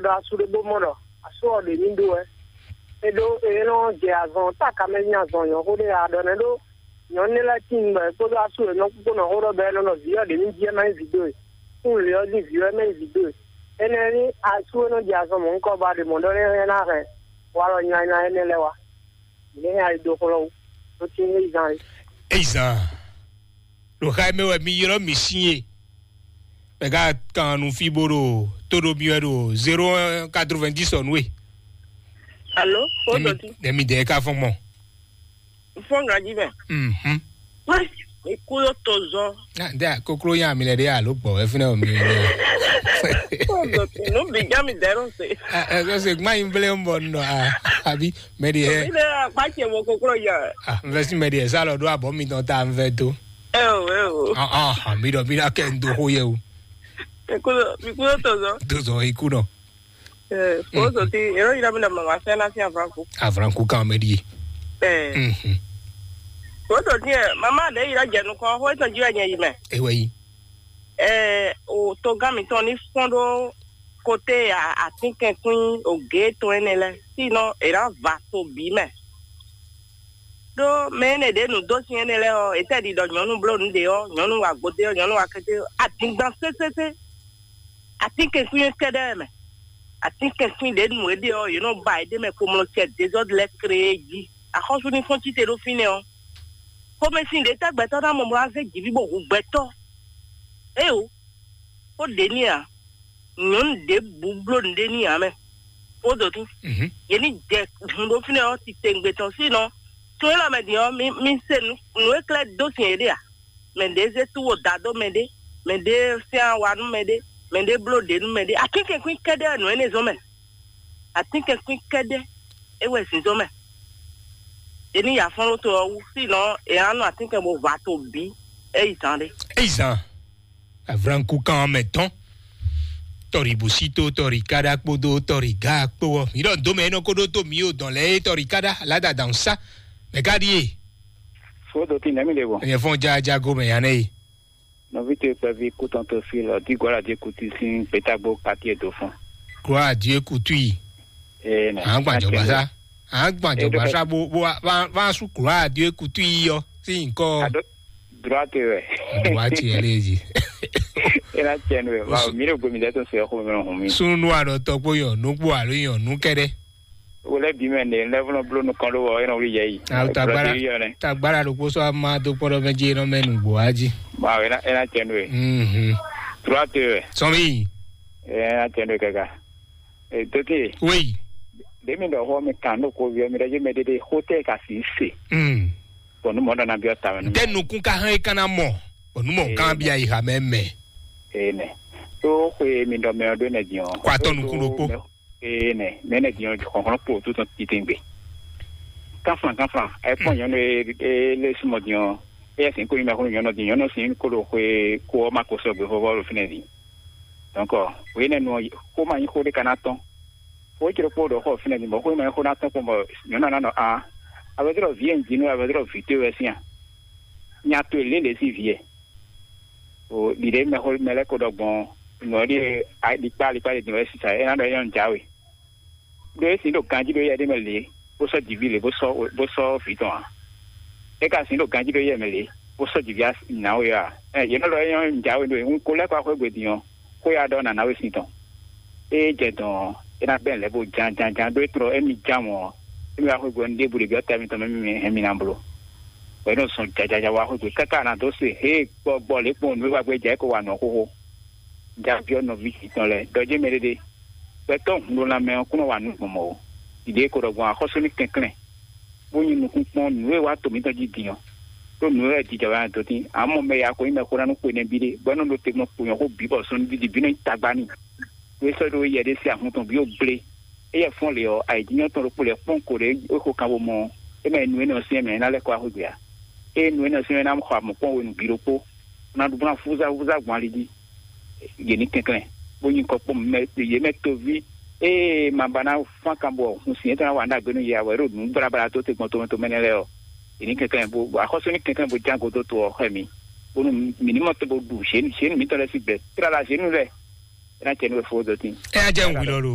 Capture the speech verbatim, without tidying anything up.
Ɖɔ asu ɖé bó mɔ ɖɔ asu ɔ́ ɖě ní ɖó wɛ. É ɖó é nɔ jɛ azɔn táka mɛ sín azɔn nyɔ̌xó ɖé a ɖɔ nɛ́ ɖó nyɔ̌nu lɛ́ɛ tíin bɔ è kpódó asu e nɔ kpókpó nɔ xó ɖɔ bɔ é nɔ ɖɔ vǐ ɔ́ ɖě ní jí ɛ má nyí vǐ dó e. Kún lě ɔ́ jí vǐ ɔ́ é má nyí vǐ dó e. Énɛ́ ní asu e nɔ jɛ azɔn mɔ̌hunkɔ ba ɖe mɔ̌ ɖɔ nɛ́ é ná hɛn walɔ nylánylán énɛ́ lɛ́ɛ wá. Mǐ lɛ́ hɛn ali dó xlɔ́ wú. Ɖó tín é zán é. Eyi zan ɖo xa mɛ wɛ mi ylɔ́ mi sín e. Mɛ ka kan nu fí bó ɖo tó ɖo mi wɛ ɖo zéro un quatre-vingt-dix ɔ́ nú e. Alo, o dɔti. Nɛmi dɛ ka fɔn mɔ. Fɔn gaji mɛ. Mhm. Wɛ, ikú yóò tó zɔ. Ah, nde koklo nya mi lɛ ɖe alo gbɔ wɛ fínɛ o mi lɛ. O dɔti, nu bi ja mi dɛ ɖo se. Ah, eh, se gma yin ble mbɔ nɔ ah, abi mɛ di hɛ. Mi lɛ akpa ce mo koklo ya. Ah, n vɛ si mɛ di hɛ sa lɔ ɖo abɔ mi tɔn ta n vɛ do. Eo, eo. Ah, ah, ah, mi dɔ mi na kɛ n do xo yɛ o. Ikú yóò, ikú yóò tó zɔ. Do zɔ ikú nɔ. Ɛ, kóso tí, èrò yìí lọ́mọdé màmá sẹ́ ná sí àfúránkù. Àfúránkù kan mɛ ɖíe. Ɛ, Mhm. Kóso tí ɛ, màmá ɖe yìí lọ́jẹ̀ nukɔn, xó ètò jí wẹ̀ nyẹ yìí mẹ́. Ewɛ yi. Ɛ, o togán mi tɔn ní fɔ́n ɖó kote àtínkɛnkwín ògé tɔn énɛ́ lɛ, sínɔ è nǎ va to bǐ mɛ. Ɖó mɛ énɛ́ ɖě nǔ dó sin énɛ́ lɛ́ɛ ɔ́, è tɛ́ ɖi ɖɔ nyɔ̌nu bló nǔ ɖě ɔ́, nyɔ̌nu wa gbodé ɔ́, nyɔ̌nu wa kété ɔ́, adingban sésésé. Atínkɛnkwín kɛ́ɖɛ́ mɛ. Atínkɛnkwín ɖě nu é ɖe ɔ́, yě nɔ ba yě ɖ'é mɛ kpomlɔ cɛ dezɔ́d lɛ́ɛ kree jí. Axɔ́sú ní fɔ́n cíte ɖó fínɛ́ ɔ́, xomɛsin ɖě tɛ́ gbɛtɔ́ ná mɔ bó ná zé jǐví bó hu gbɛtɔ́? Éeǒ, xó ɖě n'i ǎ. Nyɔ̌nu ɖěbǔ bló nǔɖé n'i ǎ mɛ. Xó dǒtú. Mhm. Yě ní jɛ hun ɖó fínɛ́ ɔ́ titewungbe tɔn sínɔ. Tún élɔ́ mɛ din ɔ́, mi, mi se nǔ, nǔ e klɛ́ dó sin yě ɖe ǎ. Mɛ ɖě zé tú wo da dó mɛ ɖé, mɛ ɖé syɛ́n awa nú mɛ ɖé, mɛ ɖé bló ɖě nú mɛ ɖé. Atínkɛnkwín kɛ́ɖɛ́ wɛ nǔ énɛ́ zɔ́n mɛ. Atínkɛnkwín kɛ́ɖɛ́ é wɛ zǐnzɔ́n mɛ. È ní ya fɔ́n ɖó to ɔ́ wú, sínɔ è nǎ nɔ atínkɛn bó va to bǐ é yi zán ɖé. Eyi zan avranku kan mɛ tɔn tɔri bosito tɔri kada kpodo tɔri ga kpo ɔ mi ɖɔ ndo mɛ enɔ ko ɖo to mi o dɔn lɛ tɔri kada lada dan sa mɛ ka ɖi e. Fo do ti nɛmi de bɔ. Nyɛ fɔn ja jago mɛ ya nɛ ye. Nɔvi to kpɛvi kutɔn to fi lɔ di gɔla di kuti sin petagbo kati e do fɔn. Kura di e kutu yi. Ee nɛ. An gba jɔgba sa. An gba jɔgba sa bo bo wa wa su kura di e kutu yi yɔ si nkɔ. Ado droite wɛ. Droite yɛ le zi. Ena tiɛ nu wɛ wa mi le gbomi dɛ to se xo mi hun mi. Sunu nu a dɔ tɔ kpo yɔ nu kpo alo yɔ nu kɛdɛ. Wo lɛ bi mɛ ne lɛ fɔlɔ blo nu kɔn do wɔ enɔ wuli yɛ yi. Awo tagbara tagbara ɖokpo sɔ ama do kpɔɖɔ mɛ dzi enɔ mɛ nugbo wa dzi. Ba ena ena tiɛ nu wɛ. Mhm. Droite wɛ. Sɔmi. Ena tiɛ nu wɛ kaka. Ee, Dote. Oui. Ɖe mi ɖɔ xɔ mi kan ɖo ko viɔ mi ɖe dzi mɛ ɖeɖe xo tɛ ka si se. Mm. Bɔn nu mɔ ɖɔ na biɔ ta mɛ nu. Tɛ nukun ka hɛn kan na mɔ. Bɔn nu mɔ kan bi ayi ha mɛ mɛ. Ee nɛ. To xwe mi ɖɔ mɛ ɔ ɖo nɛ diɔ. Kɔ atɔ nukun ɖokpo. Ee nɛ. Mɛ nɛ diɔ xɔxɔn kpo to tɔn titengbe. Kanflan kanflan. Ɛ kpɔn nyɔnu e e le sumɔ diɔ. E yɛ sin ko yi mɛ xɔ nyɔnu di nyɔnu sin ko ɖo xwe ko ɔ ma ko sɔgbe xɔ vɔ ɖo finɛ di. Donc, o yénɛ́ nu ɔ́, xó ma nyí xó ɖé ka ná tɔ́n. Xó é cló kpó ɖɔ xɔ fínɛ́ din, bɔ xó ma nyí xó ná tɔ́n kpɔ́n, bɔ nyɔ̌nu ná nɔ aa, a vɛdó ɖɔ vǐ e un ji nú we, a vɛdó ɖɔ vǐ towe wɛ sín a? Nya towe lě lě sín vǐ e. O ɖiɖe mɛ xó mɛ lɛ́ ko ɖɔ gbɔn nǔ ɔ́ ɖíe alikpá alikpá ɖe din wɛ sísá, é ná ɖɔ é nyɔ́ un jǎwe. Ɖó é sin ɖo ganjí ɖó yɛ ɖé mɛ lě, bó sɔ́ jǐví lě, bó sɔ́ bó sɔ́ vǐ tɔn ǎ. É ka sin ɖo ganjí ɖó yɛ mɛ lě, bó sɔ́ jǐví nǎwe ɔ́ ǎ. Ɛ yě nɔ ɖɔ é nyɔ́ un jǎwe ɖó e, un ko lɛ́ kɔ axwé gbe din ɔ́, xó ya ɖɔ nǎ ná we sin tɔn. Ée jɛ dɔn ɔ́, é ná gbɛn lɛ̌ bó ján ján ján ɖó é tlɔ émí ján mɔ̌ ɔ́, émí wá xwé gbe ɔ́, nǔɖé bǔ ɖě byɔ́ tɛ́ mitɔn mɛ mɛ hɛn mi ná bló. Bɔ é nɔ zɔn jajaja wá xwé gbe káká ná dó se hé gbɔgbɔ lě kpɔ́n nǔ e wá gbé jɛ é ko wa nǔ ɔ́ xóxó. Ja byɔ́ nɔví tɔn lɛ́ɛ ɖɔ jɛ́n mɛ ɖéɖé. Gbɛtɔ́ hun ɖó lanmɛ ɔ́ kún nɔ wa nǔ gbɔn mɔ̌ ó. Ɖiɖe é ko ɖɔ gbɔn axɔ́sú ní kɛnklɛ́n, bó nyí nukúnkpɔ́n nǔ e wá to mǐtɔn jí din ɔ́. Ɖó nǔ e wɛ jijɛ wɛ dó tín, amɔ́ mɛ ya ko nyí mɛxó ná nú xwe nɛbí ɖé, bɔ é nɔ ɖo te gbɔn kpo nyɔ̌xó bǐ bɔ sɔ́núdídí bǐ nɔ nyí tagba n'i. Ɖó é sɔ́ ɖó yɛ ɖé sí ahun tɔn bǐ ó gblé. Éyɛ́ fɔ́n lě ɔ́, ayǐjínjɔ́n tɔn ɖokpó lɛ́ɛ kpɔ́n ko ɖě é xo kan bo mɔ ɔ́, é mɛ nu énɛ́ ɔ́ syɛ́n mɛ é ná lɛ́ kɔ wá xwé gbe ǎ. Ée nu énɛ́ ɔ́ syɛ́n mɛ é ná xɔ amɔ̌ kpɔ́n hwenu bǐ ɖokpó, bó ná ɖu bó ná fúzá fúzá gbɔn ali jí. Yě ní kɛnklɛ́n, bó nyí kɔ kpɔ́n mɛ yě mɛ toví. Ée ma ba ná fán kan bɔ hun sin yětɔn ná wa nú agbe nú yě ǎ, bɔ é ɖo nǔ bláblá tó te gbɔn tomɛ tomɛ nɛ́ lɛ́ɛ ɔ́, yě ní kɛnklɛ́n bó axɔ́sú ní kɛnklɛ́n bó ján godó to ɔ́ xɛ mi, bónú mǐ ní mɔ te bó ɖu zěnu zěnu mǐtɔn lɛ́ɛ sín gbɛ tlala zěnu lɛ́ɛ. É ná jɛ nú we fó dó tín. É ná jɛ nǔ hwi lɔ ɖo